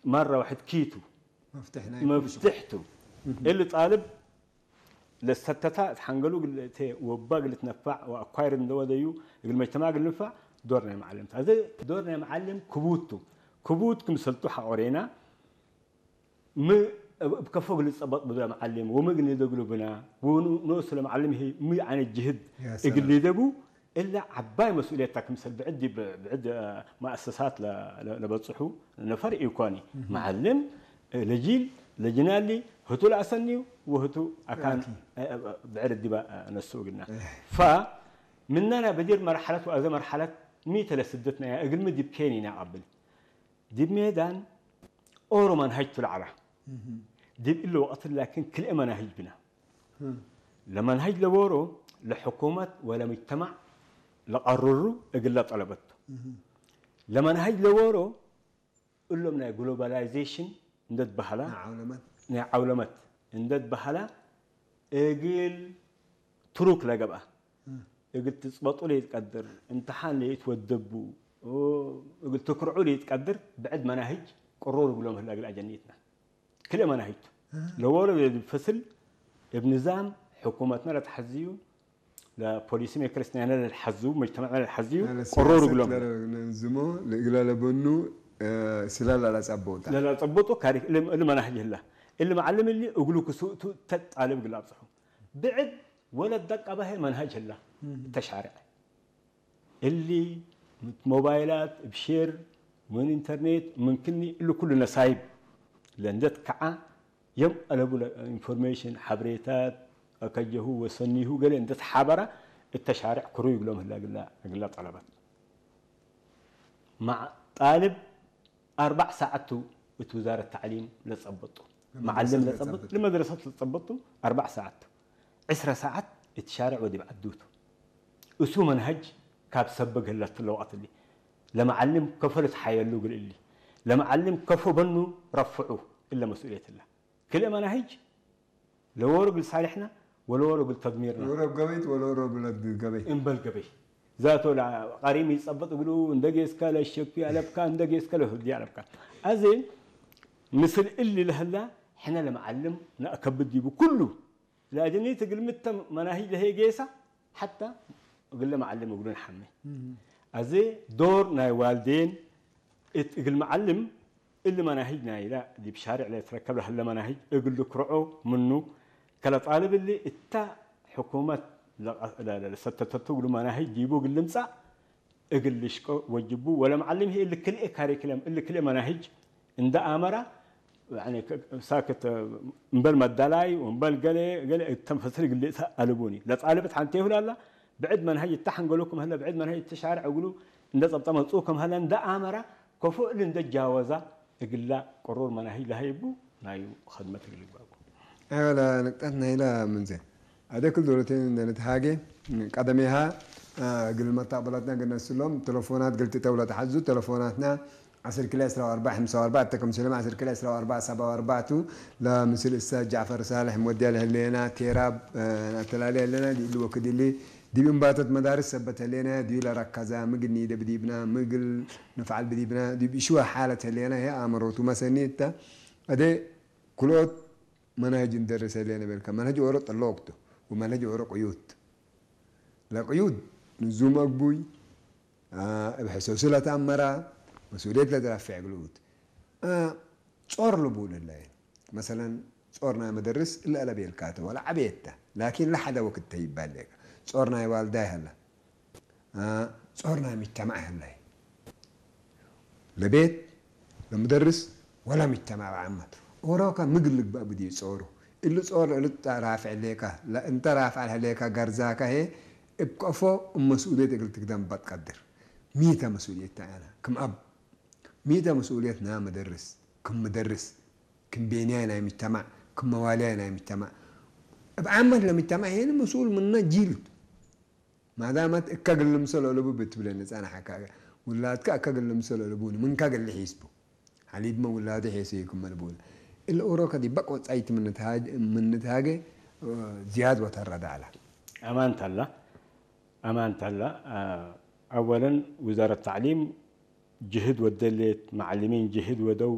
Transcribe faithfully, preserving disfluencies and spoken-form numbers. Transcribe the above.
መረ ወሕድ ኪቱ መፍትሕ ናይ ኩሉ ሽቁል። መፍትሕቱ። እሊ ጣልብ ለሰተታ እት ሐንገሉ እግል እቴ ወባ እግል ልትነፋዕ ወአኳይር እንደ ወደዩ እግል መጅተማዕ እግል ልንፋዕ ዶር ናይ መዓልም ተ። አዜ ዶር ናይ መዓልም ክቡድ ቱ። ክቡድ ክምሰልቱ ሐቆሬና ሚ እብ ከፎ እግል ልጸበጥ ብዱ ለመዓልም ወሚ እግል ንደግሉ ብና ወኑ-፣ ኖሱ ለመዓልም ህይ ሚ አይነት ጅህድ ያ ሰላም። እግል ሊደቡ እለ ዐባይ መስኡልየት ተ። ክምሰል ብዕድ ዲብ ብዕድ መአሰሳት ለ-፣ ለ-፣ ለበጽሑ ነፈር ኢኮኒ። መዓልም ለጂል ለጅናሊ ህቱ ለአሰንዩ ወህቱ አካን አኪ። ብዕድ ዲበ ነስኡ እግልና። እህ። ፈ ምነ ናይ በዲር መርሐለት ወአዜ መርሐለት ሚ ተ ለስደት ናይ እግልሚ ዲብ ኬን ኢነአብል። ዲብ ሜዳን ኦሮ መንሀጅ ቱ ለዐላ። እህ። ዲብ እሊ ወቅት ላኪን ክልኤ መናህጅ ብና። እህ። ለመንሀጅ ለዎሮ ለሕኩመት ወለሙጅተማዕ ለቀርሩ እግለ ጠለበት ቱ። እህ። ለመንሀጅ ለዎሮ እሎም ናይ ግሎባላይዜሽን እንደ ትበሀላ፣ ናይ ዐውለመት። ናይ ዐውለመት እንደ ትበሀላ እግል ትሩክ ለገብአ፣ እም። እግል ትጽበጡ ለኢትቀድር፣ እምትሓን ለኢትወደቡ፣ እግል ትክርዑ ለኢትቀድር፣ ብዕድ መናህጅ ቅሩር እግሎም ህለ እግል አጀኒትና። ክልኤ መናህጅ ቱ። እ። ለወሎ እብ ፈስል፣ እብ ንዛም ሕኩመትና ለተሐዝዩ፣ ለፖሊሲ ሜከርስ ናይነ ለልሐዝቡ፣ መጅተመዕና ለልሐዝዩ፣ ለሲያሰት ቅሩር እግሎም። ለነንዝሞ፣ ለእግለ ለበኑ፣ እ፣ ስለ ለለጸበውታ። ለለጸበጡ ካሪ-፣ እሊ፣ እሊ መናህጅ ህላ። እሊ መዓልም እሊ እግሉ ክሱእቱ ተጣልብ እግል አብጽሑ። ብዕድ ወለት ደቀበ ህይ መንሀጅ ህላ። እም። ተሻርዐ። እሊ ሞባይላት እብ ሼር ምን ኢንተርኔት ምን ክኒ እሊ ኩሉ ነሳይብ ለእንደ ትከዓ የም አለቡ ለኢንፎርሜሽን ሐብሬታት አከጀሁ ወሰኒሁ ገሌ እንደ ተሓበረ እተ ሻርዕ ክሩይ እግሎም ህላ እግላ፣ እግላ ጠለበት። መዓ ጣልብ አርበዕ ሳዐት ቱ እት ውዛረት ተዕሊም ለጸበጡ። ለመድረሰት መዓልም ለጸበጥ፣ ለጸበጥ። ለመድረሰት ለጸበጡ አርበዕ ሳዐት ቱ። ዕስረ ሳዐት እት ሻርዕ ወዲብ ዐዱ ቱ። እሱ መንሀጅ ካብ ሰበግ ህለት ለወቅት እሊ። ለመዓልም ከፎ ልትሓየሉ እግል እሊ። ለመዓልም ከፎ በኑ ረፍዑ እለ መስኡልየት እለ። ክልኤ መናህጅ ለዎሮ እግል ሳልሕና ወለዎሮ እግል ተድሚርና። ወሮ ገበይት ወለወሮ ብለድ ገበይ። እምበል ገበይ። ዛቶ ለቀሪም ይጸበጥ እግሉ እንደ ጌስከ ለሸኩ አለብካ፣ እንደ ጌስከ ለህዲ አለብካ። አዜ ምስል እሊ ለህላ ሕነ ለመዓልም ነአከብድ ዲቡ ኩሉ ለአጀኒት እግል ምተ መናሂጅ ለህይ ጌሰ ሐታ እግለ መዓልም እግሉ ነሐሜ። እም። አዜ ዶር ናይ ዋልዴን እት እግል መዓልም እሊ መናሂጅ ናይለ ዲብ ሻሬዕ ለልትረከብ ለህለ መናሂጅ እግል ልክርዖ ምኑ፣ ከለ ጣልብ እሊ እተ ሕኩመት ለቀ-፣ ለ-፣ ለ-፣ ለሰተተቱ እግሉ መናሂጅ ዲቡ እግል ልምጸእ እግል ልሽቆ ወጅቡ፣ ወለመዓልም ህይ እሊ ክልኤ ካሪክለም፣ እሊ ክልኤ መናሂጅ እንደ አመረ፣ ያኒ፣ ከ-፣ ሳክት እምበል መዳላይ ወእምበል ገሌ፣ ገሌ እተን ፈስል እግል ልእተ አልቡኒ። ለጣልብ እት ሐንቴሁ ላላ፣ ብዕድ መንሀጅ እተ ሐንገሎ ክም ህለ፣ ብዕድ መንሀጅ እተ ሻርዕ እግሉ እንደ ጸብጠ መጽኡ ክም ህለ እንደ አመረ፣ ከፎ እሊ እንደ ጃወዛ፣ እግላ ቅሩር መናሂጅ ለሀይቡ ናዩ ኸድመት እግል ልግባቡ። አይወ፣ ለንቅጠት ናይለ ምንዘ አደ ክል ዶለቴን እንደ ንትሃጌ ቀደሜሃ፣ አ፣ እግል መታቅበላትና እግል ነስሎም፣ ቴሌፎናት እግል ትተው ለተሐዙ፣ ቴሌፎናትና ዐስር ክልኤ ዕስራ ወአርበዕ ሐምሳ ወአርበዕ፣ እተ ክምሰልም ዐስር ክልኤ ዕስራ ወአርበዕ ሰብዓ ወአርበዕ ቱ፣ ለምስል እሰ ጃዕፈር ሳልሕ ምወድያ ለህሌና፣ ቴራብ፣ አ፣ አተላሌ ህሌና፣ ዲብ እሊ ወክድ እሊ፣ ዲብ እምባቶት መዳርስ ሰበት ህሌና፣ ዲብ ለረከዛ፣ ምግል ኒደ ብዲብና፣ ምግል ንፍዓል ብዲብና፣ ዲብ እሽወ ሓለት ህሌና፣ ህይ አመሮቱ መሰኒ እተ፣ አደ ክልኦት መናህጅ እንደርስ ህሌነ ቤልከ፣ መንሀጅ ኦሮ ጥሎቅ ቱ ወመንሀጅ ኦሮ ቅዩድ። ለቅዩድ ንዙም አግቡይ፣ አ፣ እብ ሕሶሱ ለተአመራ፣ መስኡልየት ለትረፌዕ እግል ኡት። አ፣ ጾር ልቡል እለ። መሰለን፣ ጾር ናይ መደርስ እለ አለቤልካተ ወለ ዐቤት ተ፣ ላኪን ለሐደ ወክድ ተ ይባል ሌከ። ጾር ናይ ዋልዳይ ሀለ። አ፣ ጾር ናይ ሙጅተማዕ ህላይ። ለቤት፣ ለሙደርስ ወለሙጅተማዕ በዓመት። ኦሮከ ምግል ልግበእ ብድዩ ጾሩ። እሊ ጾር እሊ ራፍዕ ሌከ፣ ለእንተ ራፍዕ ለህሌከ ገርዛከ ህዬ እብ ከፎ እብ መስኡልየት እግል ትግደም በትቀድር። ሚተ መስኡልየት ተዐነ? ክም አብ ሚተ መስኡልየት ናይ መደርስ፣ ክም መደርስ፣ ክም ቤንያይ ናይ ሙጅተማዕ፣ ክም መዋልያይ ናይ ሙጅተማዕ። እብ ዓመት ለሙጅተማዕ ሄኒ መስኡል ምነ ጂል ቱ። ማዳመት እከ እግል ልምሰሎ ለቡ ብትብለ ንጸናሐከ፣ ውላድከ እከ እግል ልምሰሎ ለቡኒ፣ ምንከ እግል ልሒስቡ። ሐሊብመ ውላዱ ሔሰዩ ክመ ልቡለ። እለ ኦሮከ ዲብ በቅ ወጻይት ምን ንትሃጅ-፣ ምን ንትሃጌ፣ ዝያድ ወተረደ ዐለ። አማን ተላ፣ አማን ተላ፣ አ፣ አወለን ውዛረት ተዕሊም ጅህድ ወደሌት፣ መዓልሚን ጅህድ ወደው፣